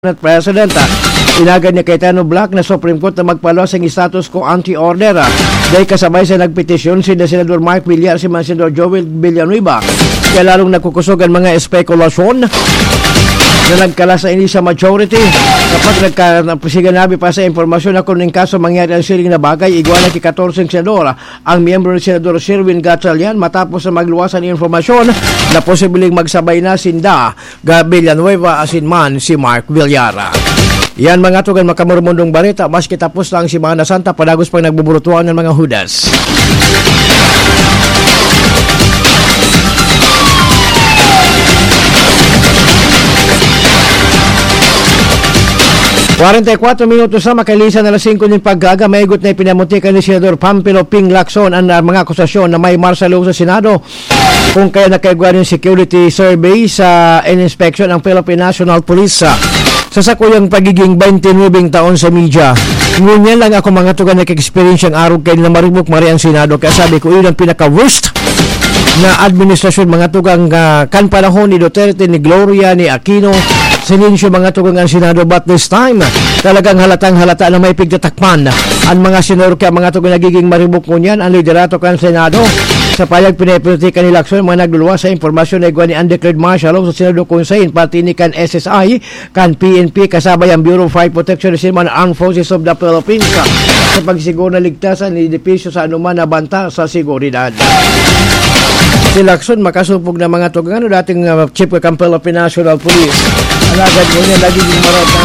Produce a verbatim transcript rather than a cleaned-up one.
Senate President, ah, inagad ni Cayetano Black na Supreme Court na magpaluwas ang status quo ante order. Ah, dahil kasabay sa nagpetisyon si Senador Mike Villar, si man Senador Joel Villanueva. Kaya lalong nagkukusog ang mga espekulasyon na nagkalas na ini sa majority. Kapag nagka-, siganabi pa sa impormasyon na kung in kaso mangyari ang siring na bagay, igwa na ki katorse senador ang miyembro ni Senador Sherwin Gatchalian matapos na magluwas ang impormasyon na posibleng magsabay na sinda ga Villanueva asin man si Mark Villar. Yan mga tugang makamurmundong bareta, maski tapos na ang Semana Santa, padagos pang nagbuburutuan ng mga hudas. Kwarenta y kuatro minutos na makalisan na alas singko nin pagkaaga, maigot na ipinamutika ni Senador Panfilo Ping Lacson ang, ah, mga akusasyon na may martial law sa Senado, kung kaya nakaigwa nin security survey sa, and inspection ang Philippine National Police, ah, sa sakuyang pagiging twenty-nine taon sa media. Ngunyan lang ako mga tugang nag-experience ang arog kay na maribok mari ang Senado, kaya sabi ko, iyon ang pinaka-worst na administrasyon, mga tugang, ah, kan panahon ni Duterte, ni Gloria, ni Aquino, Silencio, mga tugang ang Senado, but this time, talagang halatang-halata na may pigtatakpan ang mga senador, kaya mga tugang nagiging maribok ngunyan ang liderato kan Senado. Sa payag pinapolitika ni Lacson, mga nagluluwas sa impormasyon na igwa ni undeclared martial law sa Senado Conseil, pati ni kan S S I, kan P N P, kasabay ang Bureau of Fire Protection, ni Armed Forces of the Philippines, sa pagsiguro na ligtas ang edipisyo sa anuman na banta sa seguridad. Si Lacson makasupog na mga tugang, ano, dating, ah, chief kan Philippine National Police. Alagad ngunyan, nagiging marot na